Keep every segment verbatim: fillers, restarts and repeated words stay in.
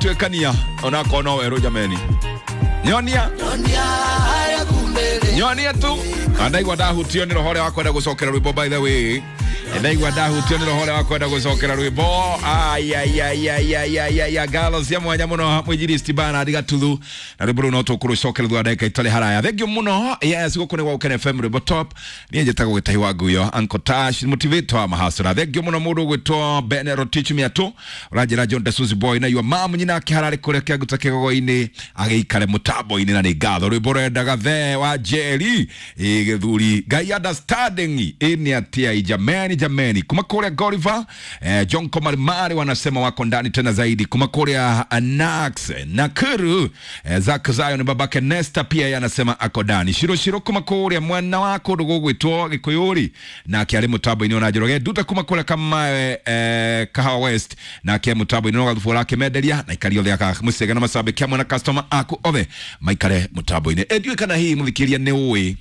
Tuĩkania onakorwo no werũ jameni, nyonia nyonia tu. Na ndaigua ndahutio nĩ roho ũrĩa wa kwenda gũcokera rwĩmbo. By the way, ndaigua ndahutio nĩ roho ũrĩa wa kwenda gũcokera rwĩmbo. Ayayayayayaya, ngatho cia mwanya mũno mwinjilisti Bernard Gatuthu, na rwĩmbo rũu no tũkũrũcokera thutha wa ndagĩka itarĩ haraya. Thank you mũno. Yes, gũkũ nĩ gwa Gũkena F M, rwĩmbo top. Niĩ njĩtagwo Gĩtahi wa Nguyo, Uncle Tash, motivator wa mahasura. Thank you mũno mũndũ ũgwĩtwo Ben Rotich Miatũ, ũranjĩra John Desuzi Boy na your mom nyina akĩhararĩ kũrĩa kĩanguta kĩgogo-inĩ agĩikare mũtambo-inĩ, na nĩ ngatho. Rwĩmbo rwendaga the wa Jerry ĩ gĩthuri Ngai understanding ĩ nĩ atia jameni jameni. Kuma kũrĩa Goliver, eh, John Komarimari wanasema wako ndani tena zaidi. Kuma kũrĩa Nax Nakuru, eh, Zak Zion babake Nesta pia yeye anasema ako ndani. Shiro Shiro kuma kũrĩa mwena wa kũndũ gũgwĩtwo Gĩkũyũri nake arĩ mũtambo-inĩ. Ona Njoroge Nduta kuma kũrĩa Kamae, eh, Kahawa West, nake mũtambo-inĩ no gathubu ũrakĩmenderia na ikari othe aka mũcege na macambĩki hamwe na customer aku othe maikare mũtambo-inĩ. Ĩ ndiũĩ kana hihi mũthikĩria nĩ ũĩ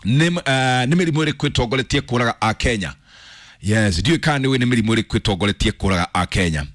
nĩ uh, nĩ mĩrimũ ĩrĩkũ ĩtongoretie kũraga a Kenya? Yes, ndiũĩ kana nĩ ũĩ nĩ mĩrimũ ĩrĩkũ ĩtongoretie kũraga a Kenya.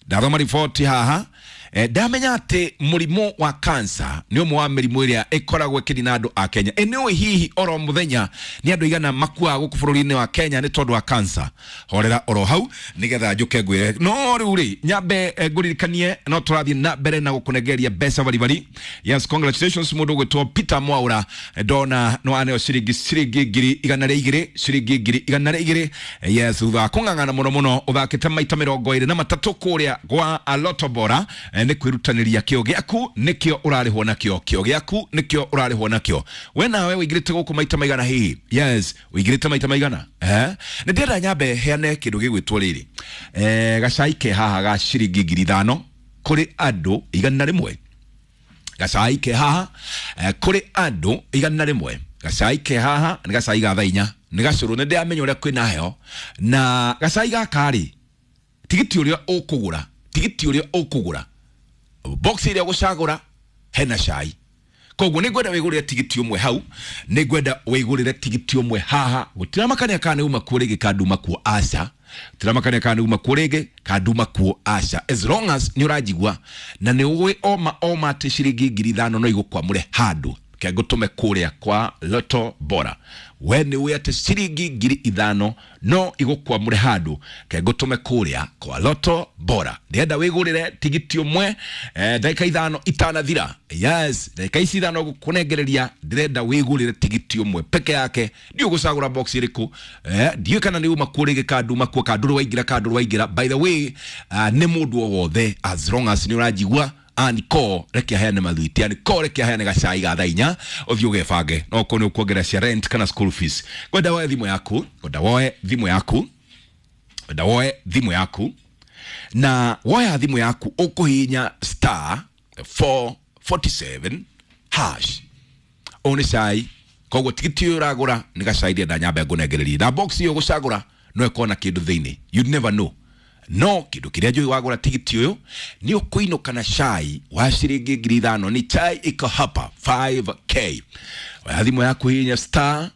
Ndathoma riboti haha, eh, ndamenya atĩ mũrimũ wa cancer nĩ ũmwe wa mĩrimũ ĩrĩa ĩkoragwo ĩkĩnina andũ a Kenya. Ĩ nĩ ũĩ hihi oro mũthenya nĩ andũ igana makuaga gũkũ bũrũri-inĩ wa Kenya nĩ tondũ wa cancer? Horera oro hau nĩgetha njũke ngwĩre, no rĩu rĩ nyambe eh, ngũririkanie no tũrathiĩ na mbere na gũkũnengeria mbeca baribari. Yes, congratulations mũndũ ũgwĩtwo Peter Mwaura. Eh, ndona no aneo ciringi ciringi ngiri igana rĩa igĩrĩ, ciringi ngiri igana rĩa igĩrĩ. Yes, thutha wa kũng'ang'ana mũno mũno, ũthakĩte maita mĩrongo ĩrĩ na matatũ kũrĩa gwa Lotto Bora. eh, nĩ kwĩrutanĩria, kĩo gĩaku nĩkĩo ũrarĩhwo nakĩo, kĩo gĩaku nĩkĩo ũrarĩhwo nakĩo. We nawe ũingĩrĩte gũkũ maita maigana hihi? Yes, ũingĩrĩte maita maigana? Eh nĩ ndĩrenda nyambe heane kĩndũ gĩgwĩtwo rĩrĩ, eh gacai ke haha ga ciringi ngiri ithano kũrĩ andũ igana rĩmwe. Gacai ke haha, eh, kũrĩ andũ igana rĩmwe. Gacai ke haha nĩ gacai ga thaa inya, nĩ gacũrũ, nĩ ndĩramenya ũrĩa kwĩna heho. Na gacai gaka rĩ, tigiti ũrĩa ũkũgũra, tigiti ũrĩa ũkũgũra, box ĩrĩa ũgũcagũra hena cai. Koguo nĩ ngwenda wĩgũrĩre tigiti ũmwe hau, nĩ ngwenda wĩgũrĩre tigiti ũmwe haha. Gũtiramakania kana nĩ uma kuo rĩngĩ kana nduma kuo, aca. Gũtiramakania kana nĩ uma kuo rĩngĩ kana nduma kuo, aca. As long as nĩ ũranjigua na nĩ ũĩ oma oma atĩ ciringi ngiri ithano no igũkwamũre handũ ke ngũtũme kũrĩa kwa Lotto Bora. We nĩ ũĩ atĩ ciringi ngiri ithano no igũkwamũre handũ ke ngũtũme kũrĩa kwa Lotto Bora. Ndĩrenda wĩgũrĩre tigiti ũmwe, eh, ndagĩka ithano itanathira. Yes, ndagĩka ici ithano gũkũnengereria, ndĩrenda wĩgũrĩre tigiti ũmwe peke yake. Ndiũ gũcagũra box ĩrĩkũ, eh, ndiũĩ kana nĩ uma kuo rĩngĩ kana nduma kuo, kana ndũrĩ waingĩra kana ndũrĩ waingĩra. By the way, uh, nĩ mũndũ o wothe, as long as nĩ ũranjigua. Aniko reke aheane mathuiti, aniko reke aheane gacai ga thaa inya, ũthiĩ ũgebange no korwo nĩ ũkuongerera cia rent kana school fees. Ngwenda woe thimũ yaku, ngwenda woe thimũ yaku, ngwenda woe thimũ yaku. Na woya thimũ yaku ũkũhihinya star four forty-seven hash. Ũyũ nĩ cai, koguo tigiti ũyũ ũragũra nĩ gacai. Ndĩrenda nyambe ngũnengererie na box ĩyo ũgũcagũra no ĩkorwo na kĩndũ thĩinĩ, you never know. No kĩndũ kĩrĩa njũĩ, wagũra tigiti ũyũ nĩ ũkũinũka na cai wa ciringi ngiri ithano. Ni chai iko hapa five k. Oya thimũ yaku, hihinya star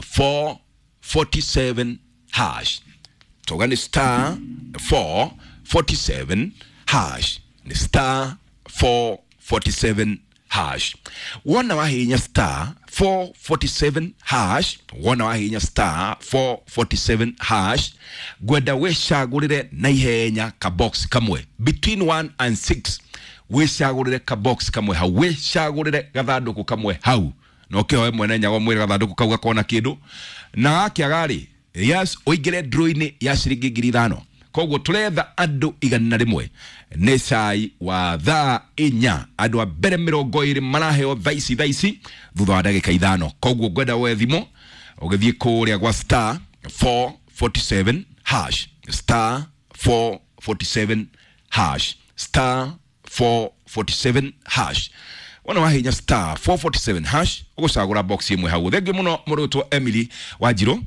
four forty-seven hash. Toga nĩ star four forty-seven hash, nĩ star four forty-seven hash. Wona wahihinya star four forty-seven hash, wona wahihinya star four forty-seven hash, ngwenda wĩcagũrĩre na ihenya ka box kamwe between one and six. Wĩcagũrĩre ka box kamwe hau, wĩcagũrĩre gathandũkũ kamwe hau, na ũkĩhoe mwene nyago mwĩre gathandũkũ kau gakona kĩndũ. Na gakĩaga rĩ, yes, ũingĩre draw-inĩ ya ciringi ngiri ithano. Koguo tũretha andũ igana rĩmwe, nĩ cai wa thaa inya. Andũ a mbere mĩrongo ĩrĩ maraheo thaa ici, thaa ici thutha wa ndagĩka ithano. Koguo ngwenda woe thimũ ũgĩthiĩ kũrĩa gwa star four forty-seven hash, star four forty-seven hash, star four forty-seven hash. Wona wahinya star four forty-seven hash, ũgũcagũra box ĩmwe hau. Thengiũ mũno mũrũtwo Emily Wanjirũ.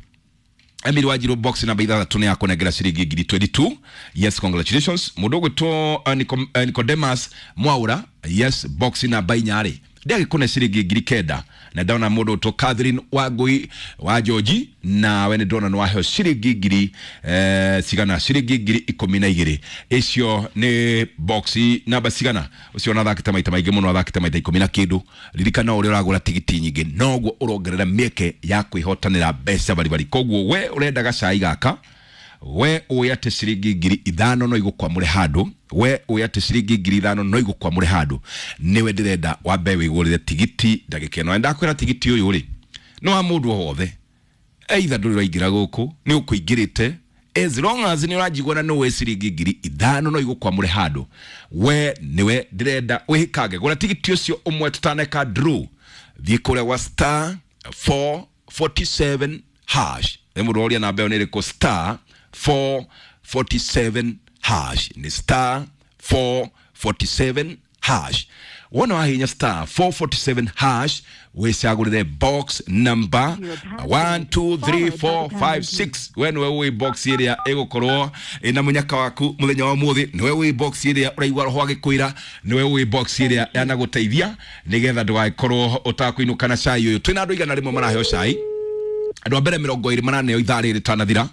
Emily Wanjiru, box namba ithathatũ nĩ yakũnengera ciringi ngiri mĩrongo ĩĩrĩ na igĩrĩ. Yes, congratulations. Mũndũ ũgwĩtwo uh, Nico, uh, Nicodemus Mwaura, yes, box namba inya rĩ. Ndiagĩkũne ciringi ngiri kenda na ndona mũndũ ũtwo Catherine Wangui wa George, nawe nĩ ndona nĩ waheo ciringi ngiri eh, cigana, ciringi ngiri ikũmi na igĩrĩ. Icio nĩ box namba cigana? Ũcio ona athakĩte maita maingĩ mũno, athakĩte maita ikũmi na kĩndũ. Ririkana ũrĩa ũragũra tigiti nyingĩ noguo ũrongerera mĩeke ya kwĩhotanĩra mbeca baribari. Koguo we ũrenda gacai gaka, we ũĩ atĩ ciringi ngiri ithano no igũkwamũre handũ, we ũĩ atĩ ciringi ngiri ithano no igũkwamũre handũ, nĩwe ndĩrenda wambe wĩgũrĩre tigiti ndagĩka ĩno. Na ndakwĩra tigiti ũyũ rĩ nĩ wa mũndũ o wothe, either ndũrĩ ũraingĩra gũkũ nĩ ũkũingĩrĩte, as long as nĩ ũranjigua na nĩũĩ ciringi ngiri ithano no igũkwamũre handũ, we nĩwe ndĩrenda wĩhĩkange. Gũra tigiti ũcio ũmwe tũtaneka draw, thiĩ kũrĩa gwa star four forty-seven hash. Nĩ mũndũ ũria namba ĩyo nĩ ĩrĩkũ? Star four forty-seven hash, nĩ star four forty-seven hash. Wona wahinya star four forty-seven hash, wĩcagũrĩre box number one two three four five six. We nĩwe wĩ box ĩrĩa ĩgũkorwo ĩna mũnyaka waku mũthenya wa ũmũthĩ, nĩwe wĩ box ĩrĩa ũraigua roho agĩkwĩra, nĩwe wĩ box ĩrĩa yanagũteithia nĩgetha ndũgagĩkorwo ũtakũinũka na cai ũyũ. Twĩna andũ igana rĩmwe maraheo cai, andũ a mbere mĩrongo ĩrĩ maraneo ithaa rĩrĩ rĩtanathira,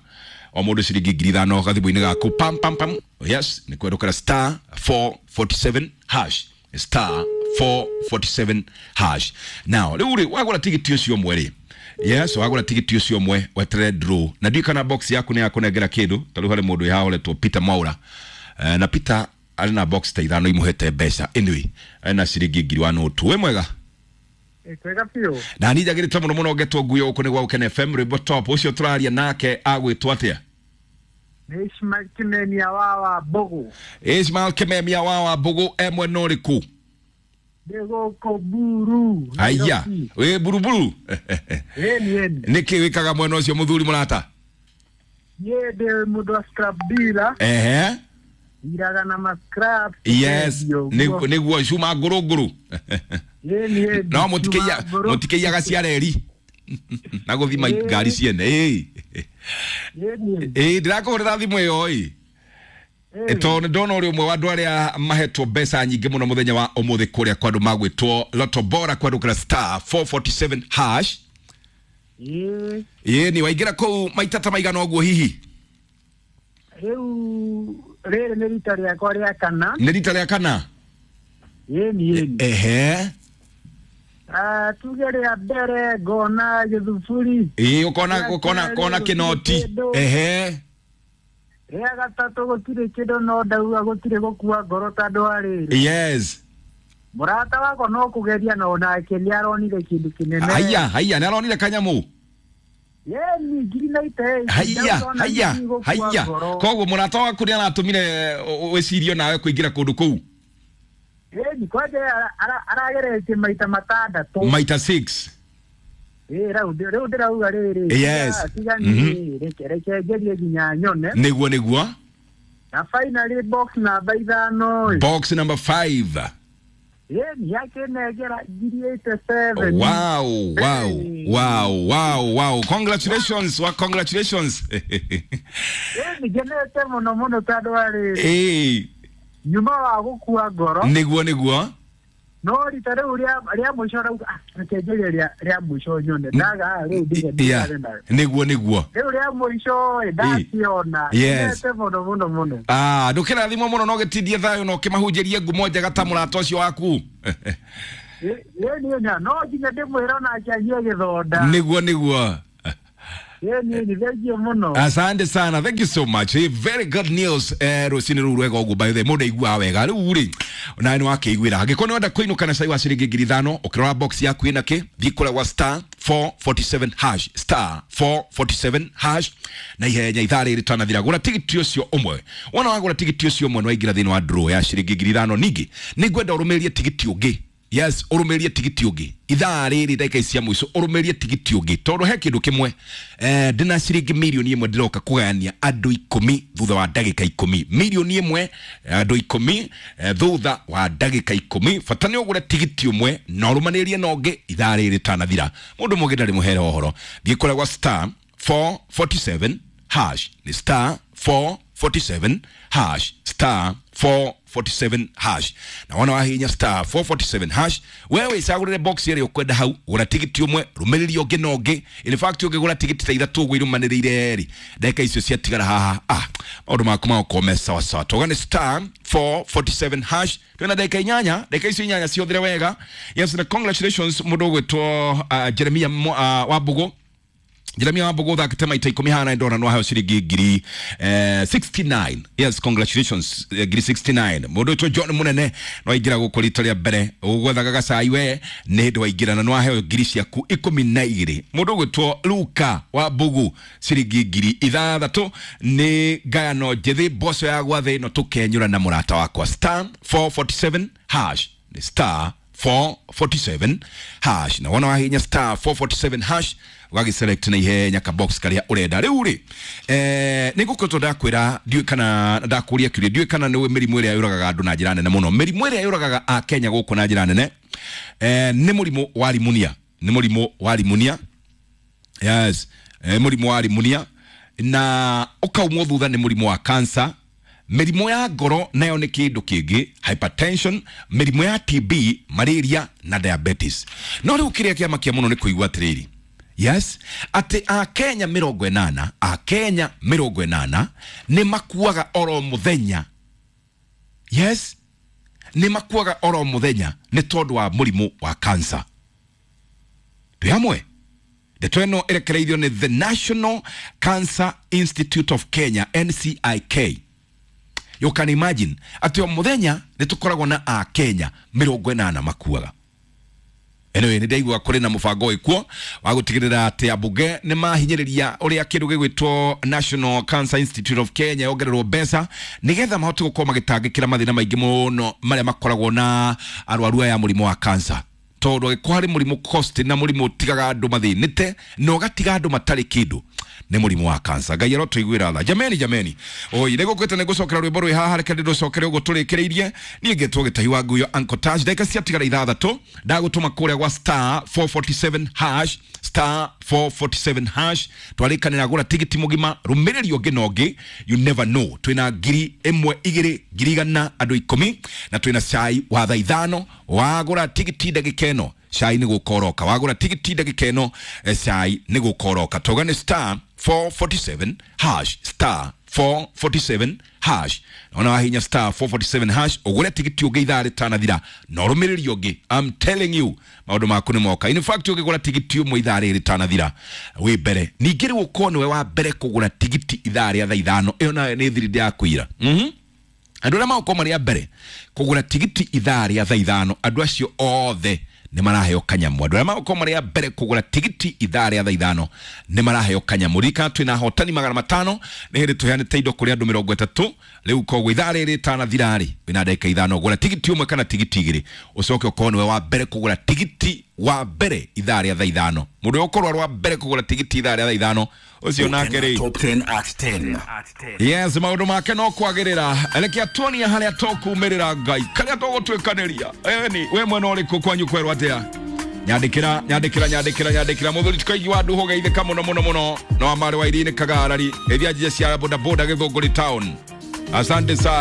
o mũndũ ciringi ngiri ithano gathimũ-inĩ gaku. Pam pam pam, yes, nĩ kwerũkĩra star four forty-seven hash, star four forty-seven hash. Now rĩu rĩ wagũra tigiti ũcio ũmwe rĩ, yes, wagũra tigiti ũcio ũmwe weterere draw, na ndiũĩ kana box yaku nĩ yakũnengera kĩndũ. Ta rĩu harĩ mũndũ wĩ haha ũretwo Peter Mwaura, eh, na Peter arĩ na box ta ithano imũhete mbeca, anyway arĩ na ciringi ngiri wa nũtu. Wĩ mwega? Kwega biũ. Na niĩ njagĩrĩte mũno mũno ngetwo nguo gũkũ nĩ gwa Gũkena F M rwĩmbo top. Ũcio tũraria nake agwĩtwo atĩa? Nĩ Ishmael Kimemia wa wa Mbũgũ. Ishmael Kimemia wa wa Mbũgũ e mwena ũrĩkũ? Ndĩ gũkũ Buru. Aya, wĩ buruburu? Ĩni ĩni. Nĩkĩ wĩkaga mwena ũcio mũthuri mũrata? Niĩ ndĩ mũndũ wa scrap dealer. Ehe. Iraga na ma scrap. Yes, nĩguo cuma ngũrũ ngũrũ. No mũtikĩiya mũtikĩiyaga cia reri na gũthima ngari ciene. Ĩĩ ĩĩ, ndĩrakũhũrĩra thimũ ĩyo ĩ tondũ nĩ ndona ũrĩ ũmwe wa andũ arĩa mahetwo mbeca nyingĩ mũno mũthenya wa ũmũthĩ kũrĩa kwa andũ magwĩtwo Lotto Bora kwandũkĩra star four forty-seven hash. Ĩĩ ĩĩ, ni waingĩra kũu maita ta maigana ũguo hihi? Rĩu rĩrĩ nĩ rita rĩakwa rĩa kana. Nĩ rita rĩa kana? Ĩni ĩni. Ehe. Ah, tuge rĩa mbere ngona gĩthuburi. Ĩĩ, ũkona ũkona kona kĩnoti. Ehe. Rĩa gatatũ gũtirĩ kĩndũ no ndauga gũtirĩ gũkua ngoro tondũ wa rĩrĩ. Yes. Mũrata wakwa no kũgeria na onake nĩ aronire kĩndũ kĩnene. Haiya, haiya, nĩ aronire kanyamũ. Yeni ngiri na ite. Haiya, haiya, haiya. Koguo mũrata waku nĩ aratũmire wĩcirie nawe kũingĩra kũndũ kũu? Ĩni kwanja arageretie maita matandatũ. Maita six. Ĩĩ, rĩu rĩu ndĩrauga rĩrĩ. Yes. Tiga niĩ reke reke ngerie nginya nyone. Nĩguo nĩguo. Na finally box namba ithano. Box number five. Ĩni yakinengera ngiri eighty-seven. Wow, wow, wow, wow, wow. Congratulations, wa congratulations. Ĩni ngenete mũno mũno tondũ wa rĩrĩ. Ĩĩ. Nyuma wa gũkua ngoro. Nĩguo nĩguo. No rita rĩu rĩa rĩa mũico rau reke ngerie rĩa rĩa mũico nyone ndaga rĩu ndige ndikare nayo. Nĩguo nĩguo. Rĩu rĩa mũico ĩ ndaciona. Yes. Ngenete mũno mũno mũno. Ah, ndũkĩrathimwo mũno no gĩtindie thayũ na ũkĩmahunjĩrie ngumo njega ta mũrata ũcio waku. Ĩ niĩ nya no nginya ndĩmwĩre onake anyue gĩthonda. Nĩguo nĩguo. Asante sana, thank you so much. Hey, very good news. Eh, rũcinĩ rũu rwega ũguo, by the way mũndũ aiguaga wega rĩu rĩ nawe nĩ wakĩiguĩra. Angĩkorwo nĩ wenda kũinũka na cai wa ciringi ngiri ithano, ũkĩrora box yaku ĩna kĩ, thiĩ kũrĩa gwa star four forty-seven hash, star four forty-seven hash na ihenya ithaa rĩrĩ rĩtanathira. Gũra tigiti ũcio ũmwe. Wona wagũra tigiti ũcio ũmwe nĩ waingĩra thĩinĩ wa draw ya ciringi ngiri ithano. Ningĩ nĩngwenda ũrũmĩrĩrie tigiti ũngĩ. Yes, ũrũmĩrĩrie tigiti ũngĩ ithaa rĩrĩ ndagĩka ici cia mũico, ũrũmĩrĩrie tigiti ũngĩ tondũ he kĩndũ kĩmwe eh, ndĩna ciringi mirioni ĩmwe ndĩroka kũgayania andũ ikũmi thutha wa ndagĩka ikũmi. Mirioni ĩmwe andũ ikũmi eh, thutha wa ndagĩka ikũmi. Bata nĩ ũgũre tigiti ũmwe na ũrũmanĩrĩrie na ũngĩ ithaa rĩrĩ rĩtanathira. Mũndũ mũngĩ ndarĩ mũhere ũhoro. Thiĩ kũrĩa gwa star four forty-seven hash, nĩ star four forty-seven hash, star four four forty-seven hash. Na wona wahihinya star four forty-seven hash, wewe icagũrĩre box ĩrĩa ũkwenda hau, gũra tigiti ũmwe, rũmĩrĩria ũngĩ na ũngĩ. In fact, ũngĩgũra tigiti ta ithatũ ũguo irũmanĩrĩire rĩ, ndagĩka icio ciatigara haha, ah, maũndũ maku magũkorwo me sawa sawa. Toga nĩ star four forty-seven hash. Twĩna ndagĩka inyanya, ndagĩka icio inyanya ciothere wega. Yes, na congratulations mũndũ ũgwĩtwo uh, Jeremia uh, Wambugu. Jeremia Wambugu ũthakĩte maita ikũmi haha na ndona no aheo ciringi ngiri eh, sixty-nine. Yes, congratulations, eh, ngiri sixty-nine. Mũndũ ũyũ John Munene no aingĩra gũkũ rita rĩa mbere, ũgwethaga gacai we nĩ hĩndĩ waingĩra na no aheo ngiri ciaku ikũmi na igĩrĩ. Mũndũ ũgwĩtwo Luka wa Mbugu, ciringi ngiri ithathatũ. Nĩ ngayano njĩthĩ, mboco ya gwathĩ no tũkenyũra na mũrata wakwa. Star four forty-seven hash, nĩ star four forty-seven hash. Na wona wahinya star four forty-seven hash, ũgagĩselect na ihenya ka box karĩa ũrenda. Rĩu rĩ, eh, nĩ ngũkoretwo ndakwĩra, ndiũĩ kana ndakũria kĩũria, ndiũĩ kana nĩ mĩrimũ ĩrĩa yũragaga andũ na njĩra nene mũno. Mĩrimũ ĩrĩa yũragaga a Kenya gũkũ na njĩra nene, eh, nĩ mũrimũ wa rimunia, nĩ mũrimũ wa rimunia. Yes, eh, mũrimũ wa rimunia, na ũkaumwo thutha nĩ mũrimũ wa cancer. Mĩrimũ ya ngoro nayo nĩ kĩndũ kĩngĩ, hypertension, mĩrimũ ya T B, malaria na diabetes. No rĩu kĩrĩa kĩamakia mũno nĩ kũigua atĩrĩrĩ, yes, atĩ akenya mĩrongo ĩnana, akenya mĩrongo ĩnana nĩ makuaga oro mũthenya. Yes, nĩ makuaga oro mũthenya nĩ tondũ wa mũrimũ wa cancer. Twĩ hamwe? Ndeto ĩno ĩrekereirio nĩ the National Cancer Institute of Kenya, N C I K. You can imagine atĩ o mũthenya nĩ tũkoragwo na akenya mĩrongo ĩnana makuaga. Anyway, nĩ ndaigua kũrĩ na mũbango wĩkuo wa gũtigĩrĩra atĩ ambunge nĩ mahinyĩrĩria ũrĩa kĩndũ gĩgwĩtwo National Cancer Institute of Kenya yongererwo mbeca, nĩgetha mahote gũkorwo magĩtangĩkĩra mathĩna maingĩ mũno marĩa makoragwo na arwaru aya mũrimũ wa cancer, tondũ angĩkorwo harĩ mũrimũ cost na mũrimũ ũtigaga andũ mathĩnĩte na ũgatiga andũ matarĩ kĩndũ, nĩ mũrimũ wa cancer. Ngai arotũiguĩra tha. Jameni, jameni, oi, nĩ gũkwĩte nĩ ngũcokera rwĩmbo rwĩ haha, reke ndĩrũcokere ũguo tũrĩkĩrĩirie. Niĩ ngetwo Gĩtahi wa Nguyo, Uncle Tash. Ndagĩka ciatigara ithathatũ, ndagũtũma kũrĩa gwa star four forty-seven hash, star four forty-seven hash. Twarĩkanĩra gũra tigiti mũgima, rũmĩrĩri ũngĩ na ũngĩ. You never know, twĩna ngiri ĩmwe, igĩrĩ, ngiri igana, andũ ikũmi, na twĩna cai wa thaa ithano. Wagũra tigiti ndagĩka ĩno, cai nĩ gũkoroka. Wagũra tigiti ndagĩka ĩno, eh, cai nĩ gũkoroka. Toga nĩ star four forty-seven hash, star four forty-seven hash. Ona wahinya star four forty-seven hash, ũgũre tigiti ũngĩ ithaa rĩtanathira na ũrũmĩrĩri ũngĩ. I'm telling you, maũndũ maku nĩ moka. In fact, ũngĩgũra tigiti ũmwe ithaa rĩrĩ rĩtanathira, wĩ mbere. Ningĩ rĩu ũkorwo nĩwe wa mbere kũgũra tigiti ithaa rĩa thaa ithano, ĩyo nayo nĩ thiri ndĩrakwĩra. mhm andũ arĩa magũkorwo marĩ a mbere kũgũra tigiti ithaa rĩa thaa ithano, andũ acio othe nĩ maraheo kanyamũ. Andũ arĩa magũkorwo marĩ a mbere kũgũra tigiti ithaa rĩa thaa ithano nĩ maraheo kanyamũ. Ririkana twĩna ahotani magana matano, nĩ hĩndĩ tũheanĩte indo kũrĩ andũ mĩrongo ĩtatũ. Rĩu koguo ithaa rĩrĩ rĩtanathira rĩ, wĩna ndagĩka ithano, gũra tigiti ũmwe kana tigiti igĩrĩ, ũcoke ũkorwo nĩwe wa mbere kũgũra tigiti wa mbere ithaa rĩa thaa ithano. Mũndũ ũrĩa ũkorwo arĩ wa mbere kũgũra tigiti ithaa rĩa thaa ithano, ũcio nake rĩ, Top ten at ten. Yes, maũndũ make no kwagĩrĩra. Rekea tuonia harĩa tũkumĩrĩra Ngai, karĩa tũgũtuĩkanĩria. Eni we mwena ũrĩkũ kwanyu kwerwo atĩa? Nyandĩkĩra, nyandĩkĩra, nyandĩkĩra, nyandĩkĩra. Mũthuri tũkaigua andũ hũgeithĩka mũno mũno mũno, no amarĩ wa irini kagarari ĩthia njia cia bodaboda Gĩthũngũri town. Asante sana.